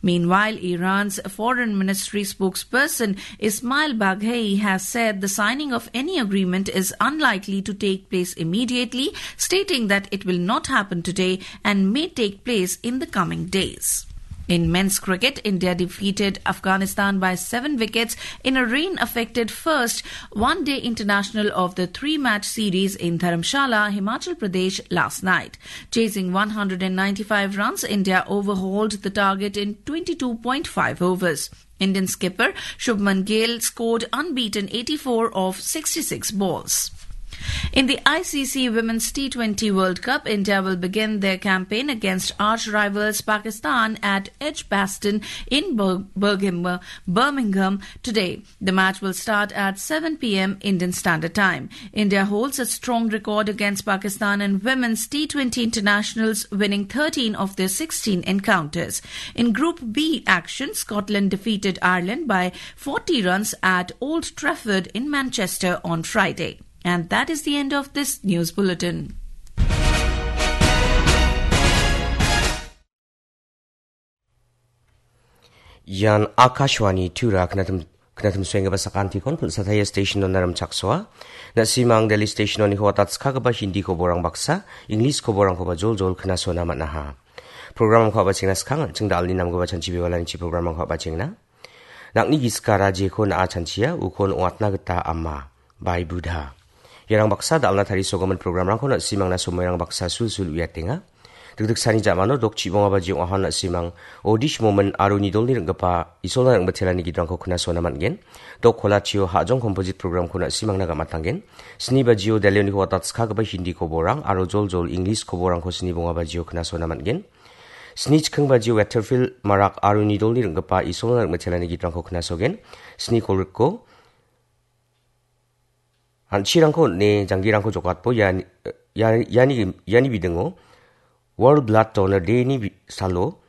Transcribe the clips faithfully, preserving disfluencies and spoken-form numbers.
Meanwhile, Iran's foreign ministry spokesperson Ismail Baghei has said the signing of any agreement is unlikely to take place immediately, stating that it will not happen today and may take place in the coming days. In men's cricket, India defeated Afghanistan by seven wickets in a rain-affected first one-day international of the three-match series in Dharamshala, Himachal Pradesh last night. Chasing one hundred ninety-five runs, India overhauled the target in twenty-two point five overs. Indian skipper Shubman Gill scored unbeaten eighty-four of sixty-six balls. In the I C C Women's T twenty World Cup, India will begin their campaign against arch rivals Pakistan at Edgbaston in Bir-, Birmingham, Birmingham today. The match will start at seven p m Indian Standard Time. India holds a strong record against Pakistan in women's T twenty internationals, winning thirteen of their sixteen encounters. In Group B action, Scotland defeated Ireland by forty runs at Old Trafford in Manchester on Friday. And that is the end of this news bulletin. Ian Akashvani Tura knatum, knatum suenggipa sakantikon pulsataya station-ona rimchaksoa. Na·simang Delhi station-oniko watatskagipa Hindi koborang baksa, English koborangkoba joljol knasona man·aha. Programko a·bachengna skang, ching dalni namgipa chanchi bewalanichi programko a·bachengna. Nang·ni giskara jeko na·a chanchia, ukon ong·atna gita ama. Bai Buddha. Iarang baksa dal·na tarisogimin programrangko na·simangna somoirang baksa sulsul uiatenga. Dikdiksani ja·mano dok chibonga bajio ong·aha na·simang Odish Momin aro nidolni ring·gipa Isolna ring·bitelani gidrangko knasona man·gen. Dok kolachio Hajong Composite programko na·simangna gam·atanggen. Sni bajio Delhioniko watatskagipa Hindi koborang aro joljol English koborangko sni bonga bajio knasona man·gen. Sni chikking bajio Weatherfield Marak aro nidolni ring·gipa Isolna ring·bitelani gidrangko knasogen. Sni kolgrikko An·chirangko on·e janggirangko jokatbo iani, ia-, iani, iani bidingo World Blood Donor Day-ni bi-, salo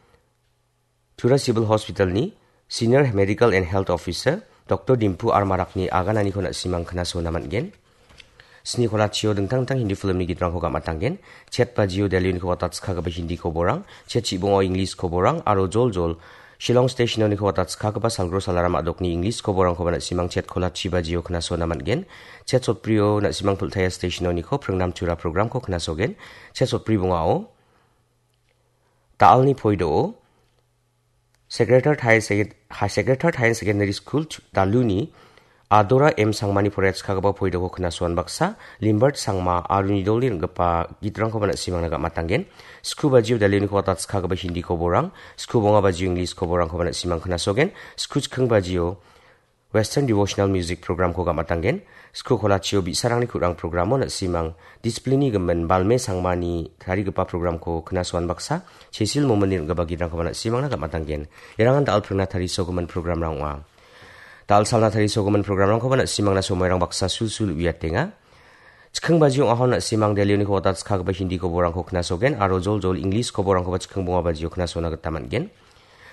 Tura Civil Hospital-ni Senior Medical and Health Officer Doktor Dimpu R Marakni agananiko na·simang knasona man·gen. Sni kolachio dingtang dingtang Hindi filmni gitrangko gam·atanggen. Chet bajio Delhioniko watatskagipa Hindi koborang, chet chibongo English koborang, aro joljol Shillong Station-oniko watatskagipa Salgro Salaram a·dokni English koborangkoba na·simang chet kolachi bajio knasona man·gen. Chet sotbrio na·simang Pultaya Station-oniko Pringnam Tura programko knasogen. Chet sotbri bongao Da·alni poido Secretary Higher Second-, High Secretary Higher Secondary School chu-, Daluni Adora M Sangmani poraiatskagipa poidoko knasoan baksa, Limbert Sangma aro nidolni ring·gipa gitrangkoba na·simangna gam·atanggen. Sku bajio Daluniko watatskagipa Hindi koborang, sku bonga bajio English koborangkoba na·simang knasogen. Sku chikking bajio Western Devotional Music programko gam·atanggen. Sku kolachio bi·sarangni ku·rang programo na·simang discipline-ni gimin Balme Sangmani tarigipa programko knasoan baksa, Chesil Momoni ring·gipa gitrangkoba na·simangna gam·atanggen. Irangan da·al pringna tarisogimin programrang ong·a. Da·al salna tarisogimin programrangkoba na·simangna somoirang baksa sulsul uiatenga. Chikking bajio ong·ahon na·simang Delhioniko watatskagipa Hindi koborangko knasogen aro joljol English koborangkoba chikking bonga bajio knasona gita man·gen.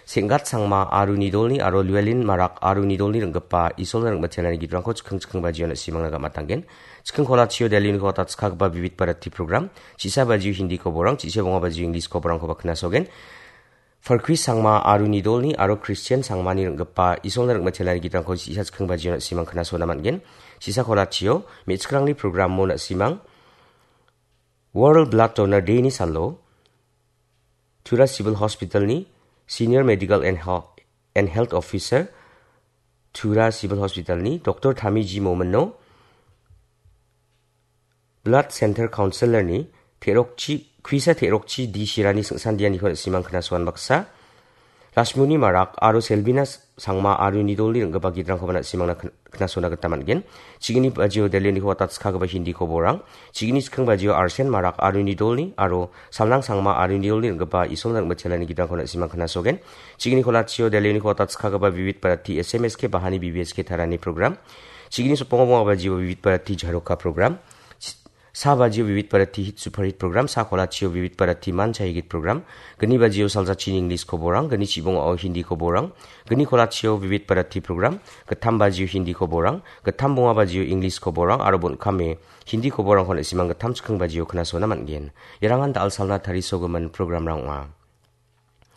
Senggat Sangma aro nidolni aro Luelin Marak aro nidolni ring·gipa Isolna ring·batelani gitrangko chikking chikking bajio na·simangna gam·atanggen. Chikking kolachio Delhioniko watatskagipa Vivid Bharati program, chisa bajio Hindi koborang, chisa bonga bajio English koborangkoba knasogen. Farkui Sangma aro nidolni aro Christian Sangmani ring·gipa Isolna ring·batelani gitrangko chisa chikking bajio na·simang knasona man·gen. Chisa kolachio me·chikrangni programo na·simang World Blood Donor Day-ni salo Tura Civil Hospital-ni Senior Medical and Hel-, and Health Officer, Tura Civil Hospital-ni Doktor Thami G Momino, Blood Center Counselor-ni Terokchi, Kuisa Terokchi D Shirani singsandianiko na·simang knasoan baksa, Lashmuni Marak aro Selbina Sangma aro nidolni ring·gipa gitrangkoba na·simangna kn-, knasona gita man·gen. Chigini bajio Delhioniko watatskagipa Hindi koborang, chigini chikking bajio Arsen Marak aro nidolni aro Salnang Sangma aro nidolni ring·gipa Isolna ring·batelani gitrangko na·simang knasogen. Chigini kolachio Delhioniko watatskagipa Vivid Bharati S M S K Bahani B B S K Tarani program, chigini sotbonga bonga bajio Vivid Bharati Jharoka program, Sa bajio Vivid Bharati Hit Super Hit program, sa kolachio Vivid Bharati Mancha Higit program, gni bajio Saljachini English koborang, gni chibongao Hindi koborang, gni kolachio Vivid Bharati program, gittam bajio Hindi koborang, gittam bonga bajio English koborang, aro bon·kame Hindi koborangko na·simang gittam chikking bajio knasona man·gen. Irangan da·al salna tarisogimin programrang ong·a.